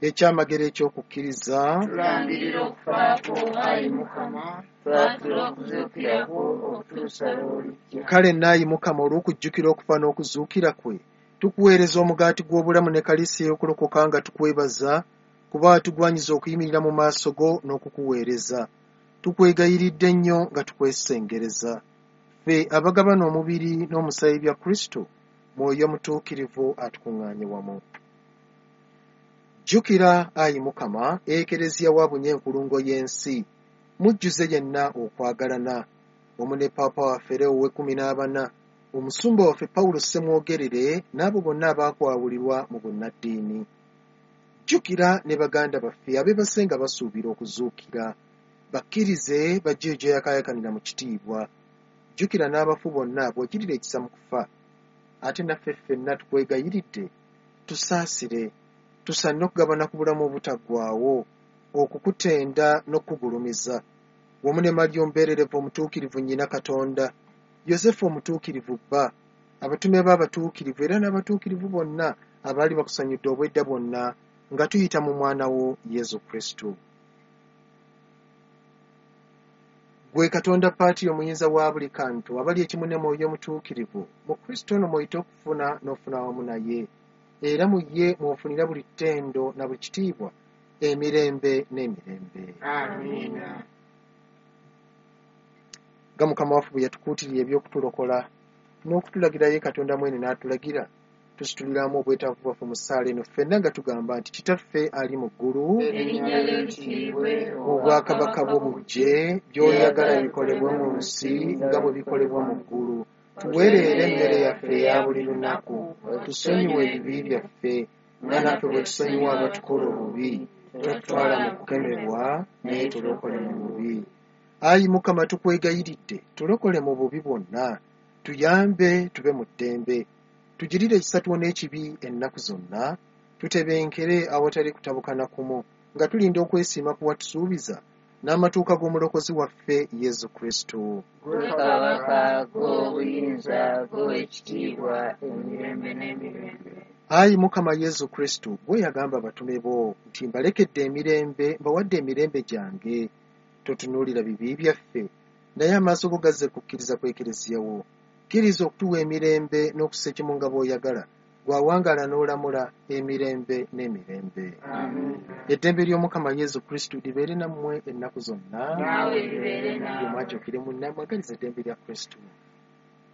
Ekyamagero eky'okukkiriza. Tulangirira okufa kwo, ayi Mukama, twatula okuzuukira kwo okutuusa lw'olijja. Kale naayi Mukama, olw'okujjukira okufa n'okuzuukira kwe, tukuweereza omugaati gw'obulamu ne kaliisi ey'okulokoka nga tukwebaza, kuba watugwanyiza okuyimirira mu maaso go n'okukuweereza. Tukwegayiridde nnyo nga tukwesengereza. Ffe abagabana omubiri n'omusaayi bya Kristo, Mwoyo Mutuukirivu atukuŋŋaanye wamu. Jjukira, ayi Mukama, Ekereziya w'abunye enkulungo y'ensi, mujjuze yenna okwagalana, wamu ne Paapa waffe Leo ow'ekkumi n'abana, omusumba waffe Pawulo Ssemwogerere, n'abo bonna abaakwawulirwa mu bunnaddiini. Jjukira ne baganda baffe abeebase nga basuubira okuzuukira, bakkirize bajje gy'oyakaayakanira mu kitiibwa. Jjukira n'abafu bonna bw'ogirira ekisa mu kufa. Ate naffe ffenna tukwegayiridde, tusaasire, tusaanire okugabana ku bulamu obutaggwaawo, okukutenda n'okukugulumiza, wamu ne Mariya omubeererevu omutuukirivu nnyina Katonda, Yosefu omutuukirivu bba, abatume be abatuukirivu era n'abatuukirivu bonna abaali bakusanyudde obwedda bwonna, nga tuyita mu mwana wo Yesu Kristo. Ggwe Katonda Paatiri omuyinza wa buli kantu, abali ekimu ne Mwoyo Omutuukirivu, mu Kristo ono mw'oyita okufuna n'ofuna wamu naye, era mu ye mw'ofunira buli ttendo na buli kitiibwa emirembe n'emirembe. Amiina. Nga Mukama waffe bwe yatukuutirira eby'okutulokola n'okutulagira ye Katonda mwene n'atulagira, tusituliramu obwetaavu bwaffe mu ssaala eno ffenna nga tugamba nti, Kitaffe ali mu ggulu, Erinnya lyo litiibwe, obwakabaka bwo bujje, by'oyagala bikolebwe mu nsi nga bwe bikolebwa mu ggulu. Tuwe leero emmere yaffe eya buli lunaku, tusonyiwe ebibi byaffe nga naffe bwe tusonyiwa abatukola obubi, totutwala mu kukemebwa, naye tulokole mu bubi. Ayi Mukama, tukwegayiridde, tulokole mu bubi bwonna, tuyambe tube mu ddembe, tugirire ekisa tuwone ekibi ennaku zonna, tutebenkere awatali kutabukana kumu, nga tulinda okwesiima ku watusuubiza n'amatuuka g'omulokozi waffe Yesu Kristo. Ggwe Kabaka, ggwe obuyinza, ggwe ekitiibwa emirembe n'emirembe. Ayi Mukama Yesu Kristo, ggwe yagamba abatume bo nti, Mbalekedde emirembe, mbawadde emirembe gyange. Totunuulira bibi byaffe, naye amaaso go gazze kukkiriza kw'Ekereziya wo. Kkiriza okutuwa emirembe n'okussa ekimu nga bw'oyagala, gw'awangaala n'olamula emirembe n'emirembe. Amiina. Eddembe ly'Omukama Yesu Kristo libeere nammwe ennaku zonna. Naawe libeere naawe. Buli omu akyukire munne amwagalize eddembe lya Kristo.